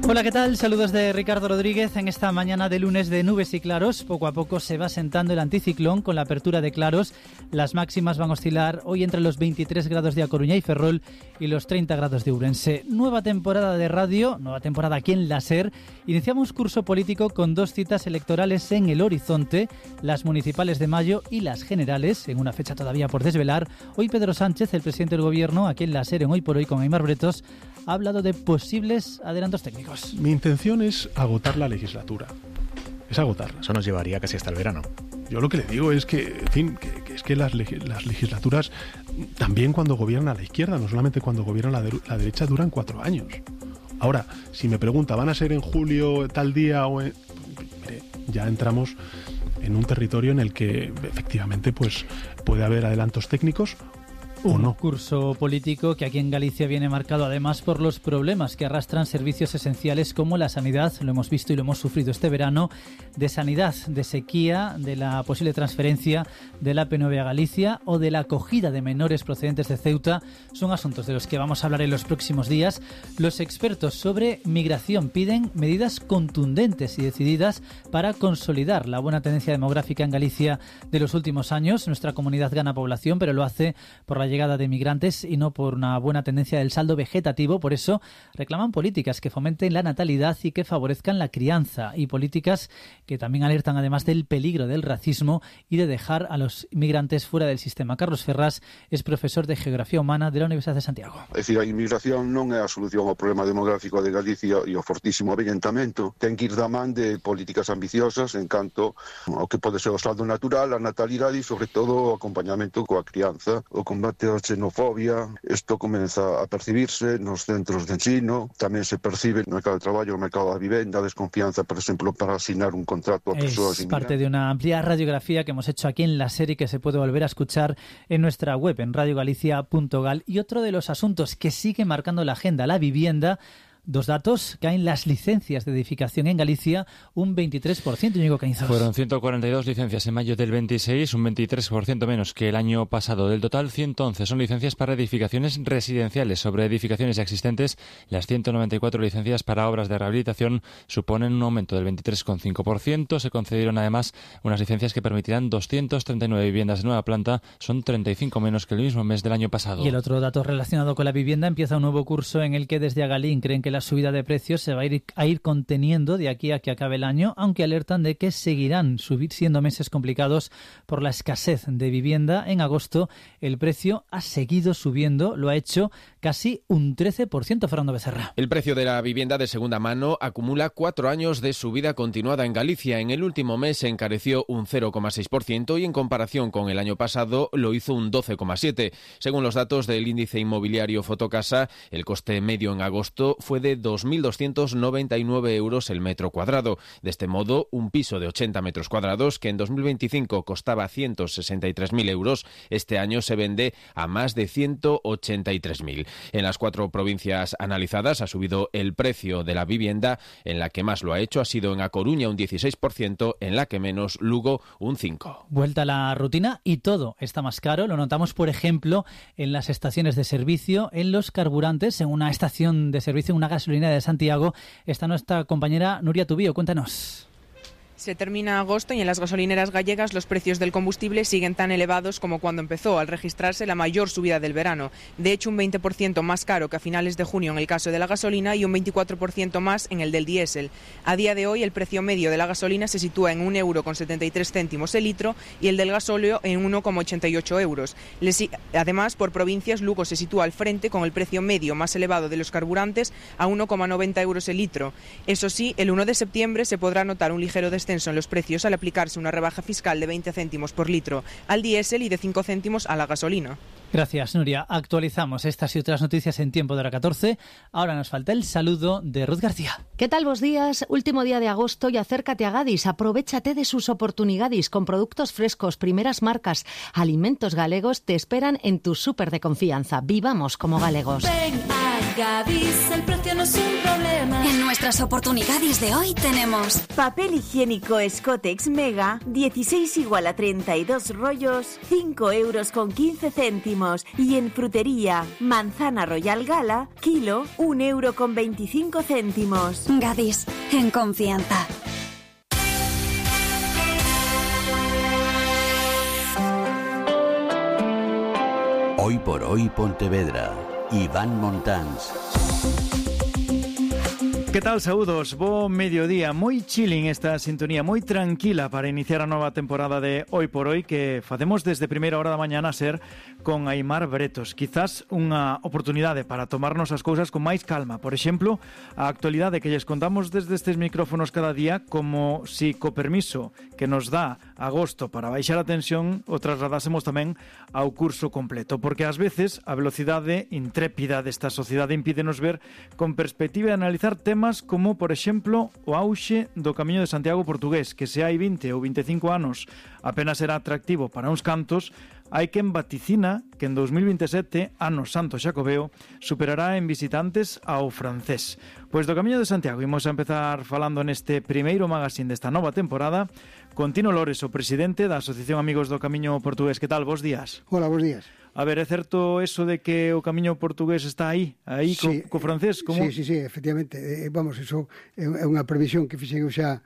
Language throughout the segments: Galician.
Hola, ¿qué tal? Saludos de Ricardo Rodríguez en esta mañana de lunes de nubes y claros. Poco a poco se va sentando el anticiclón con la apertura de claros. Las máximas van a oscilar hoy entre los 23 grados de A Coruña y Ferrol y los 30 grados de Ourense. Nueva temporada de radio, nueva temporada aquí en la SER. Iniciamos curso político con dos citas electorales en el horizonte, las municipales de mayo y las generales, en una fecha todavía por desvelar. Hoy Pedro Sánchez, el presidente del Gobierno, aquí en la SER en Hoy por Hoy con Aimar Bretos, ha hablado de posibles adelantos técnicos. Mi intención es agotar la legislatura. Es agotarla. Eso nos llevaría casi hasta el verano. Yo lo que le digo es que, en fin, es que las legislaturas, también cuando gobierna la izquierda, no solamente cuando gobierna la derecha, duran 4 años. Ahora, si me pregunta, ¿van a ser en julio tal día o en...? Mire, ya entramos en un territorio en el que efectivamente pues puede haber adelantos técnicos. Un curso político que aquí en Galicia viene marcado además por los problemas que arrastran servicios esenciales como la sanidad, lo hemos visto y lo hemos sufrido este verano, de sanidad, de sequía, de la posible transferencia de la P9 a Galicia o de la acogida de menores procedentes de Ceuta. Son asuntos de los que vamos a hablar en los próximos días. Los expertos sobre migración piden medidas contundentes y decididas para consolidar la buena tendencia demográfica en Galicia de los últimos años. Nuestra comunidad gana población, pero lo hace por la llegada de migrantes y no por una buena tendencia del saldo vegetativo. Por eso reclaman políticas que fomenten la natalidad y que favorezcan la crianza, y políticas que también alertan además del peligro del racismo y de dejar a los migrantes fuera del sistema. Carlos Ferrás es profesor de Geografía Humana de la Universidad de Santiago. É dicir, a inmigración non é a solución ao problema demográfico de Galicia e ao fortísimo avellentamento. Ten que ir da man de políticas ambiciosas en canto ao que pode ser o saldo natural, a natalidade e, sobre todo, o acompañamento coa crianza, o combate a xenofobia. Isto comeza a percibirse nos centros de ensino, tamén se percibe no mercado de traballo, no mercado da vivenda, desconfianza, por exemplo, para asignar un contrato a persoas inmigrantes. Es parte de una amplia radiografía que hemos hecho aquí en la serie, que se puede volver a escuchar en nuestra web, en radiogalicia.gal. Y otro de los asuntos que sigue marcando la agenda, la vivienda. Dos datos: caen las licencias de edificación en Galicia un 23%, Íñigo Cañizos. Fueron 142 licencias en mayo del 26, un 23% menos que el año pasado. Del total, 111 son licencias para edificaciones residenciales. Sobre edificaciones ya existentes, las 194 licencias para obras de rehabilitación suponen un aumento del 23,5%. Se concedieron además unas licencias que permitirán 239 viviendas de nueva planta, son 35 menos que el mismo mes del año pasado. Y el otro dato relacionado con la vivienda: empieza un nuevo curso en el que desde Agalín creen que la subida de precios se va a ir conteniendo de aquí a que acabe el año, aunque alertan de que seguirán siendo meses complicados por la escasez de vivienda. En agosto el precio ha seguido subiendo, lo ha hecho casi un 13%, Fernando Becerra. El precio de la vivienda de segunda mano acumula 4 años de subida continuada en Galicia. En el último mes se encareció un 0,6% y en comparación con el año pasado lo hizo un 12,7%. Según los datos del índice inmobiliario Fotocasa, el coste medio en agosto fue de 2.299 euros el metro cuadrado. De este modo, un piso de 80 metros cuadrados, que en 2025 costaba 163.000 euros, este año se vende a más de 183.000. En las 4 provincias analizadas ha subido el precio de la vivienda. En la que más lo ha hecho ha sido en A Coruña, un 16%, en la que menos, Lugo, un 5%. Vuelta a la rutina y todo está más caro. Lo notamos, por ejemplo, en las estaciones de servicio, en los carburantes. En una estación de servicio, en una gasolina de Santiago, está nuestra compañera Nuria Tubío. Cuéntanos. Se termina agosto y en las gasolineras gallegas los precios del combustible siguen tan elevados como cuando empezó, al registrarse la mayor subida del verano. De hecho, un 20% más caro que a finales de junio en el caso de la gasolina y un 24% más en el del diésel. A día de hoy, el precio medio de la gasolina se sitúa en 1,73 € el litro y el del gasóleo en 1,88 euros. Además, por provincias, Lugo se sitúa al frente con el precio medio más elevado de los carburantes a 1,90 euros el litro. Eso sí, el 1 de septiembre se podrá notar un ligero descenso en los precios al aplicarse una rebaja fiscal de 20 céntimos por litro al diésel y de 5 céntimos a la gasolina. Gracias, Nuria. Actualizamos estas y otras noticias en Tiempo de Hora 14. Ahora nos falta el saludo de Ruth García. ¿Qué tal vos días? Último día de agosto y acércate a Gadis. Aprovechate de sus oportunidades con productos frescos, primeras marcas, alimentos galegos. Te esperan en tu súper de confianza. Vivamos como galegos. Ven a Gadis, el precio no es un problema. En nuestra las oportunidades de hoy tenemos papel higiénico Scotex Mega, 16 igual a 32 rollos, 5,15 €. Y en frutería, manzana Royal Gala, kilo, 1,25 €. Gadis, en confianza. Hoy por hoy Pontevedra, Iván Montáns. Que tal, saúdos? Bo mediodía, moi chilling esta sintonía, moi tranquila para iniciar a nova temporada de Hoy por Hoy que facemos desde primeira hora da mañana a ser con Aimar Bretos. Quizás unha oportunidade para tomarnos as cousas con máis calma. Por exemplo, a actualidade que lles contamos desde estes micrófonos cada día, como si co permiso que nos dá agosto para baixar a tensión o trasladásemos tamén ao curso completo, porque ás veces a velocidade intrépida desta sociedade impídenos ver con perspectiva e analizar temas como, por exemplo, o auxe do Camiño de Santiago portugués, que se hai 20 ou 25 anos apenas era atractivo para uns cantos, hai quen vaticina que en 2027, ano santo xacobeo, superará en visitantes ao francés. Pois do Camiño de Santiago imos a empezar falando neste primeiro magazín desta nova temporada con Tino Lores, o presidente da Asociación Amigos do Camiño Portugués. Que tal? Bos días. Hola, bos días. A ver, é certo eso de que o Camiño Portugués está aí sí, co francés? Como? Sí, efectivamente. Vamos, eso é unha previsión que fixen eu xa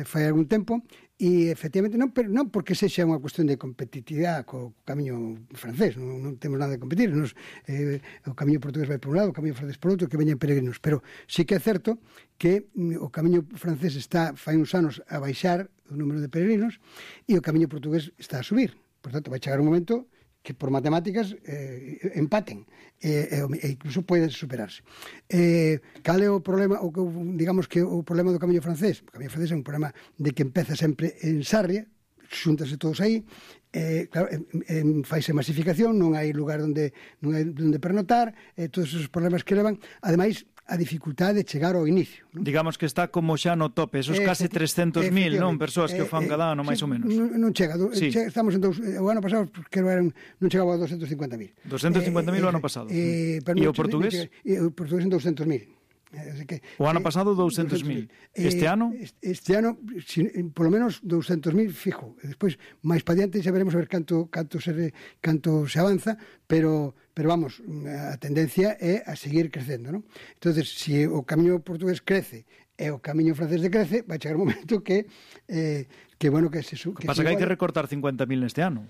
fai algún tempo, e efectivamente non porque sexa unha cuestión de competitividade co Camiño francés, non temos nada de competir, o Camiño Portugués vai por un lado, o Camiño francés por outro, que veñen peregrinos, pero sí que é certo que o Camiño francés está fai uns anos a baixar o número de peregrinos e o Camiño Portugués está a subir. Por tanto, vai chegar un momento que por matemáticas empaten e incluso poden superarse. Cal é o problema, digamos que o problema do Camiño francés? O Camiño francés é un problema de que empeza sempre en Sarria, xúntase todos aí, claro, faise masificación, non hai lugar onde pernotar, todos esos problemas que levan, ademais a dificultade de chegar ao inicio, non? Digamos que está como xa no tope, esos case 300.000, non, persoas que o fan cada ano, máis ou menos. Non chega, estamos en o ano pasado que non chegaba a 250.000. 250.000 o ano pasado. E o portugués? O portugués en 200.000. O ano pasado 200.000. Este ano? Este ano, polo menos 200.000 fijo. Despois, máis pa diante, xa veremos a ver canto se avanza, pero vamos, a tendencia é a seguir crecendo, non? Entonces, se o Camiño portugués crece e o Camiño francés decrece, vai chegar un momento que bueno, que se... Pasa que hai que recortar 50.000 neste ano.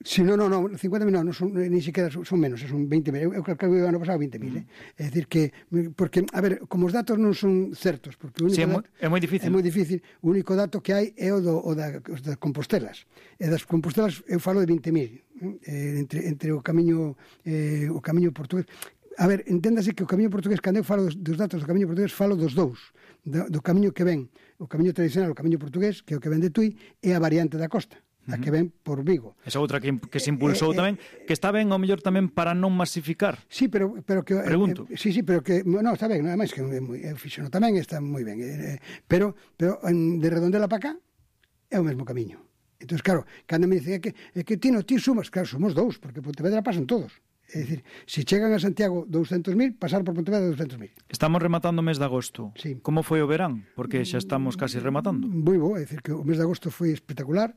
Sí, no, 50.000 non son, ni siquiera son menos, son 20.000. Eu calculo que o ano pasado 20.000, É dicir que, porque, a ver, como os datos non son certos, porque o único é moi difícil. É moi difícil. O único dato que hai é o das Compostelas. E das Compostelas eu falo de 20.000, entre o camiño portugués. A ver, enténdase que o Camiño portugués, cando eu falo dos datos do Camiño portugués, falo dos dous, do camiño que ven, o camiño tradicional, o Camiño portugués, que é o que ven de Tui, e a variante da costa, a que ven por Vigo. Esa outra que se impulsou tamén, que está ben, ao mellor tamén para non masificar. Sí, pero que... Pregunto. Sí, pero que... Non, está ben, nada máis que eu fixo tamén, está moi ben. Pero de Redondela para cá é o mesmo camiño. Entón, claro, cando me dicen que ti sumas, claro, somos dous, porque Pontevedra pasan todos. É dicir, se chegan a Santiago 200.000, pasar por Pontevedra 200.000. Estamos rematando o mes de agosto. Sí. Como foi o verán? Porque xa estamos casi rematando. Moi bo, é dicir, que o mes de agosto foi espectacular.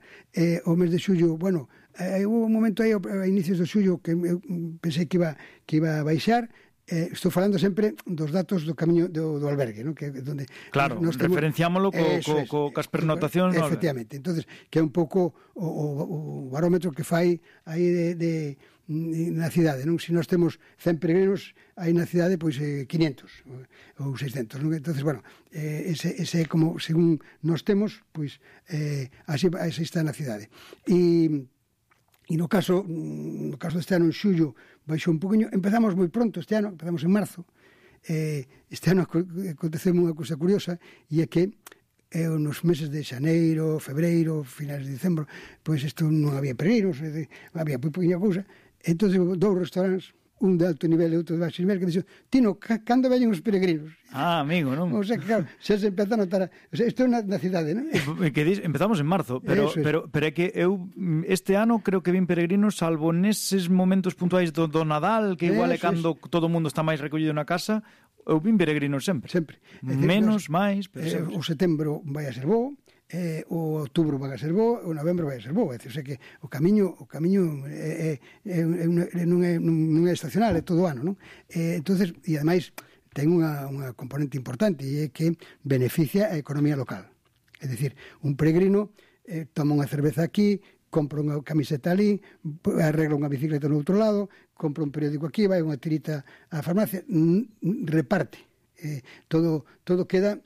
O mes de xullo, bueno, hubo un momento aí a inicios de xullo que eu pensei que iba a baixar. Estou falando sempre dos datos do camiño do albergue, ¿no? Que donde claro, referenciámoslo cas pernotacións. Efectivamente, entonces que é un pouco o barómetro que fai aí na cidade, non? Se nós temos 100 peregrinos, aí na cidade pois 500 ou 600, non? Entonces, bueno, ese é como según nós temos, pois así está na cidade. E no caso deste ano en xullo baixou un poquinho, empezamos moi pronto este ano, empezamos en marzo. Este ano aconteceu unha cousa curiosa, e é que nos meses de xaneiro, febreiro, finais de dicembro, pois isto non había peregrinos, había moi poquinha cousa. Entón, dous restaurantes, un de alto nivel e outro de baixo nivel, que dixo, Tino, cando veñen os peregrinos? Amigo, non? O sea, que claro, xa se empeza a notar... O sea, isto é na cidade, non? Empezamos en marzo, pero é que eu este ano creo que vin peregrinos, salvo neses momentos puntuais do Nadal, que igual é cando todo o mundo está máis recollido na casa, eu vim peregrino sempre. Menos, máis, pero sempre. O setembro vai a ser bo, o outubro vai a ser bo, o novembro vai a ser bo. É dicir, que o camiño non é estacional, é todo o ano, non? Entonces, e ademais ten unha componente importante, e é que beneficia a economía local. É dicir, un peregrino toma unha cerveza aquí, compra unha camiseta ali, arregla unha bicicleta no outro lado, compra un periódico aquí, vai unha tirita á farmacia, reparte. Todo queda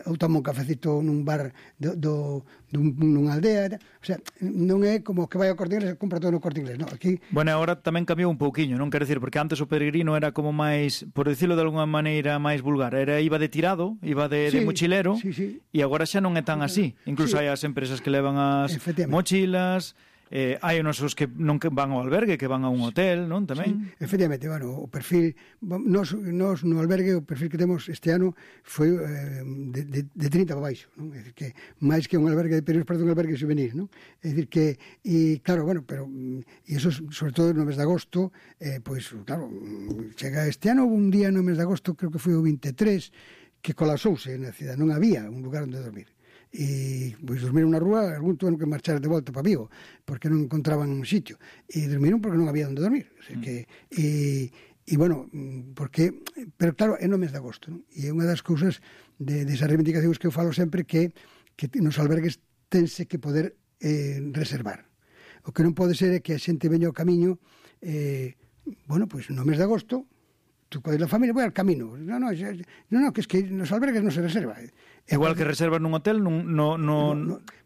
ou toma un cafecito nun bar nunha aldea, o sea, non é como que vai ao Corte Inglés e compra todo no Corte Inglés, non, aquí... Bueno, agora tamén cambiou un pouquiño, non quero dicir, porque antes o peregrino era como máis, por dicilo de alguma maneira máis vulgar, iba de tirado, iba de mochilero, e agora xa non é tan así, incluso hai as empresas que levan as mochilas... hai unos que non van ao albergue, que van a un hotel, non, tamén? Sí, efectivamente, bueno, o perfil nos no albergue, o perfil que temos este ano foi de 30 para baixo, non? É dicir, que máis que un albergue de peregrinos, parece un albergue juvenil, non? É dicir que, e claro, bueno, pero e eso sobre todo no mes de agosto, pois, claro, chega este ano un día no mes de agosto, creo que foi o 23, que colapsouse na cidade, non había un lugar onde dormir. E pois dormiron na rúa, algún tuveron que marchar de volta para Vigo porque non encontraban un sitio, e dormiron porque non había onde dormir, o sea, que e bueno, porque pero claro, é no mes de agosto, non? E é unha das cousas desas reivindicacións que eu falo sempre, que nos albergues tense que poder reservar. O que non pode ser é que a xente veña ao camiño, bueno, pois no mes de agosto tú codes a familia, vai al camino. No, que es que nos albergues non se reserva. Igual que reservas nun hotel,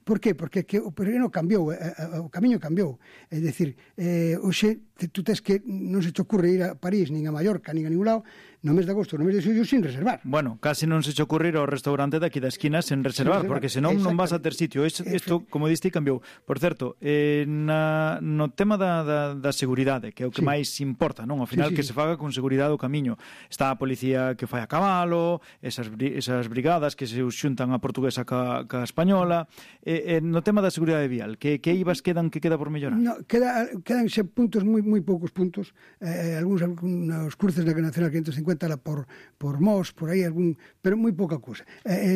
Por qué? Porque que o peregrino cambiou, o camiño cambiou. É dicir, hoxe tú tes que non se te ocurre ir a París, nin a Mallorca, nin a ningún lado, no mes de agosto, no mes de xullo, sin reservar. Bueno, casi non se te ocurre ir ao restaurante daqui da esquina sen reservar, porque senón non vas a ter sitio. Isto, como diste, cambiou. Por certo, no tema da seguridade, que é o que máis importa, non? Ao final, que se faga con seguridade o camiño. Está a policía que fai a cabalo, esas brigadas que se xuntan a portuguesa ca española. No tema da seguridade vial, que ibas que queda por mellorar? No, quedan puntos, moi poucos puntos, algúns cruces na Nacional 550 por Mos, por aí, pero moi pouca cousa.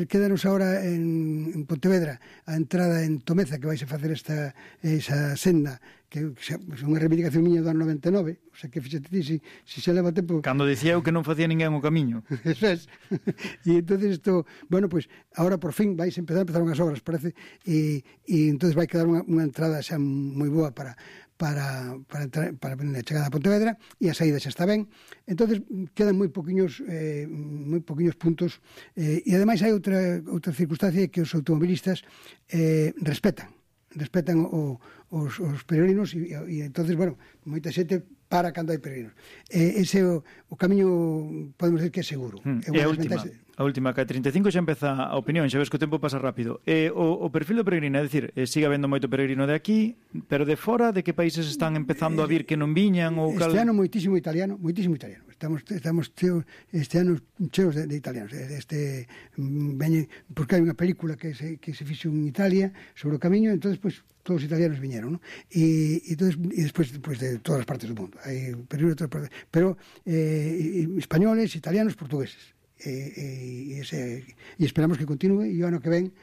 Quedanos agora en Pontevedra a entrada en Tomeza, que vais a facer esa senda, que é unha reivindicación miña do ano 99, o sea, que fíxate ti, se leva tempo... Cando dicía eu que non facía ninguén o camiño. Eso es. E entonces isto, bueno, pues ahora por fin vais a empezar unhas obras, parece, e entonces vai quedar unha entrada xa moi boa para a chegada a Pontevedra, e a saída xa está ben. Entonces quedan moi poquinhos puntos, e ademais hai outra circunstancia, que os automobilistas respetan os peregrinos, e entonces, bueno, moita xente para cando hai peregrinos. Ese o camiño, podemos decir que é seguro. E a última, que a 35 xa empeza a opinión, xa ves que o tempo pasa rápido. O perfil do peregrino, é dicir, sigue habendo moito peregrino de aquí, pero de fora, de que países están empezando a vir que non viñan? Este ano moitísimo italiano. Estamos cheos, este ano cheos de italianos. Porque hai unha película que se fixo en Italia sobre o camiño, entonces, pues, todos os italianos viñeron, ¿no? E despois de todas as partes do mundo. Hai peregrinos de todas as partes, pero españoles, italianos, portugueses. E esperamos que continue, e o ano que ven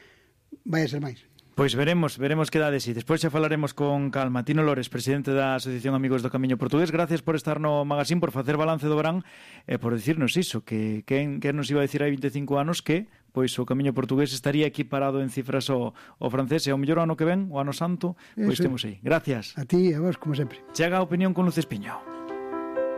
vai a ser máis. Pois veremos que dá de si. Despois xa falaremos con calma. Tino Lores, presidente da Asociación Amigos do Camiño Portugués, gracias por estar no magazín, por facer balance do verán e por dicirnos iso, que nos iba a dicir hai 25 anos que pois o Camiño Portugués estaría equiparado en cifras ao francés, e ao mellor ano que ven, o ano santo, pois temos aí. Gracias. A ti e a vos, como sempre. Chega a opinión con Luz Espiño.